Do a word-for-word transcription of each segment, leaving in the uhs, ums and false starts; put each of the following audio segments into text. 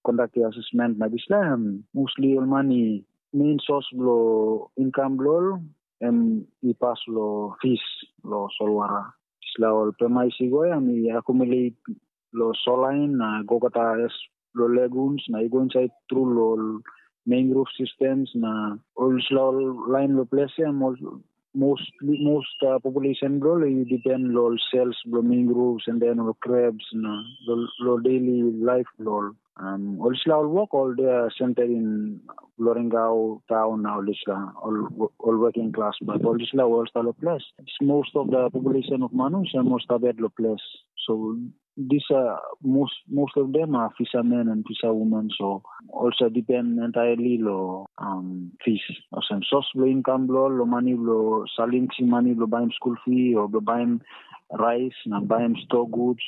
kondakti asesmen na dispela em mostly ol man i main sos bilong inkam bilong ol em i pas long fis long solwara. Dispela ol pemais i go em i accumulate long solain na gogata es long laguns na i go insait tru long ol mangrove systems na ol dispela ol lain long ples em ol most most uh, population bilong ol i depend long ol sales bilong mangroves and then ol crabs na long daily life bilong ol. Um, ol dispela ol wok ol de center in Loringau town na ol dispela ol ol working class but ol dispela ol stalo place. Most of the population of Manus and most of it lo place. So these are most most of them are fishermen and fisherwomen. So also depend entirely lo um, fish. Olsem source bilong income bilong lo money bilong selling si money bilong buying school fee or bilong buying rice na buying store goods.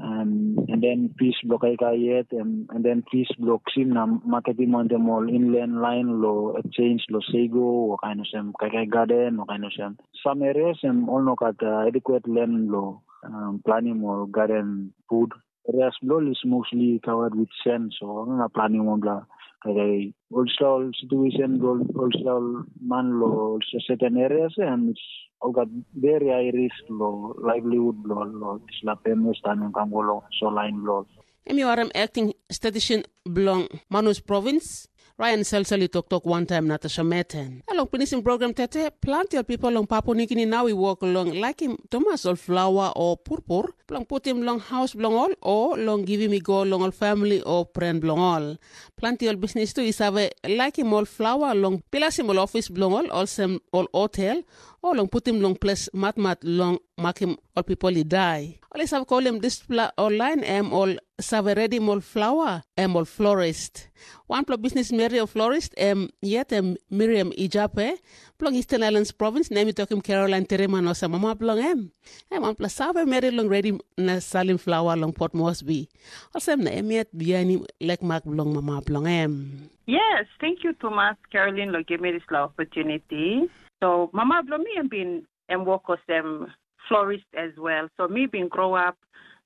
Um, and then fish bilong kaikai yet and, and then fish bilong kisim na marketing on them all inland line lo exchange lo sego or kind of sem kaikai garden or kind of sem. Some areas em all no got uh, adequate land lo um, planning or garden food. Areas bilong is mostly covered with sand, so na planning on bla kaikai olsol situation olsol man lo certain areas and it's all got very high risk lo livelihood lo lo isla famous tanung kangolo so line lo. Em i warim acting statistician bilong Manus Province, Ryan Selsel i toktok wantaim Natasha Meten. Na long pinisim program tete, planti ol pipel long Papua Nugini nau i wok long laikim tumas ol flawa o purpur bilong putim long haus bilong ol o long givim i go long ol famili o pren bilong ol. Planti ol bisnis tu i save laikim ol flawa long bilasim ol ofis bilong ol olsem ol hotel o long putim long ples matmat long makim ol pipel i dai. Ol i save kolim dispela ol lain em ol save redim ol flawa, em ol florist. Wanpela bisnis meri o florist em yet em Miriam Ijape, bilong Eastern Islands Province, na em i tokim Caroline Tereman olsem mama bilong em. Em wanpela save meri long redim na salim flawa long Port Moresby. Olsem na em yet bihainim lekmak bilong mama bilong em. Yes, thank you tumas Caroline lo give me this opportunity. So mama bilong mi em bin em work olsem florist as well. So mi bin grow up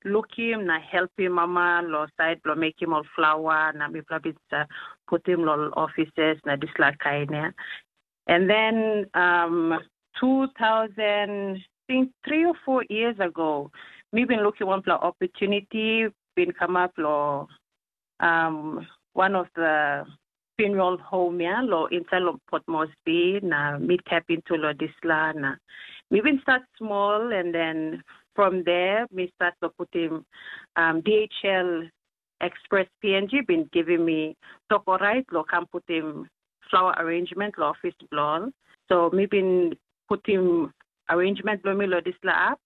lukim na helpim mama lo side bilong mekim ol flawa na mipela bin sa putim lo offices na dispela kain ya. And then um, two thousand, I think three or four years ago, mi bin lukim wanpela opportunity bin come up lo um, one of the funeral home ya lo inside lo Port Moresby na mi tap into lo disla na mi bin start small and then from there mi start lo putim um, D H L Express P N G bin givim mi tok orait lo kam putim flower arrangement lo office bilong. So mi bin putim arrangement bilong mi lo disla app.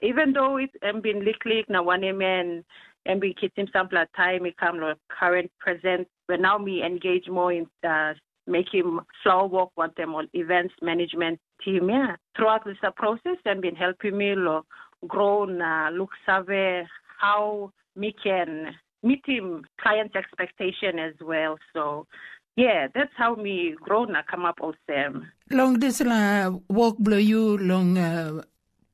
Even though it em bin liklik na wanem en em bin kisim sampela taim i kam long current present, but now mi engage more in uh, making flower work wantem ol events management team, yeah. Throughout this uh, process, em bin helping me lo grow na look save how mi can meeting clients expectation as well. So yeah, that's how me grow na come up olsem. Long dispela work bilong yu long uh,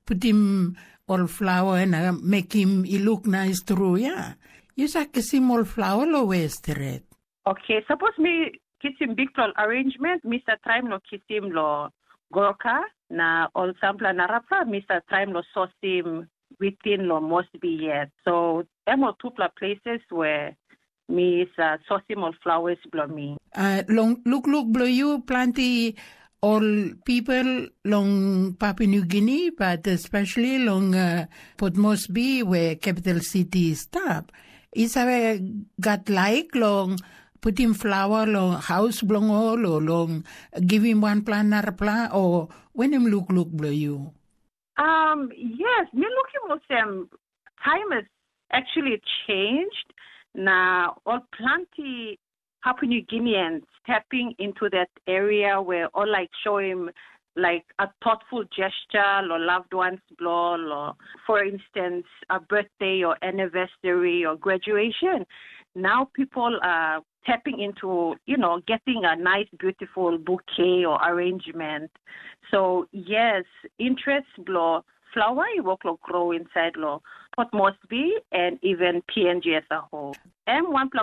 putim ol flower na mekim i look nice tru, ya. Yu sa kisim ol flower lo we stret? Okay, suppose mi kisim big flower arrangement, mi sa try lo kisim lo Gorka, na ol sampela narapela mi sa try lo sosim within lo Mosby yet. So em ol tupela places where mi sa sosim ol flowers bilong mi. Uh, long lukluk bilong yu planti ol people long Papua New Guinea, but especially long uh, Port Moresby where capital city is stap. I save gat laik long putim flower long haus bilong ol o long givim wanpela narapela o wenim lukluk bilong yu? Um, yes, mi lukim olsem time has actually changed. Na ol planti Papua New Guineans stepping into that area where all like show him like a thoughtful gesture or loved ones blow or for instance a birthday or anniversary or graduation. Now people are tapping into, you know, getting a nice, beautiful bouquet or arrangement. So yes, interest blow flower i work lo grow inside lo Port Moresby and even P N G as a whole. Em wanpela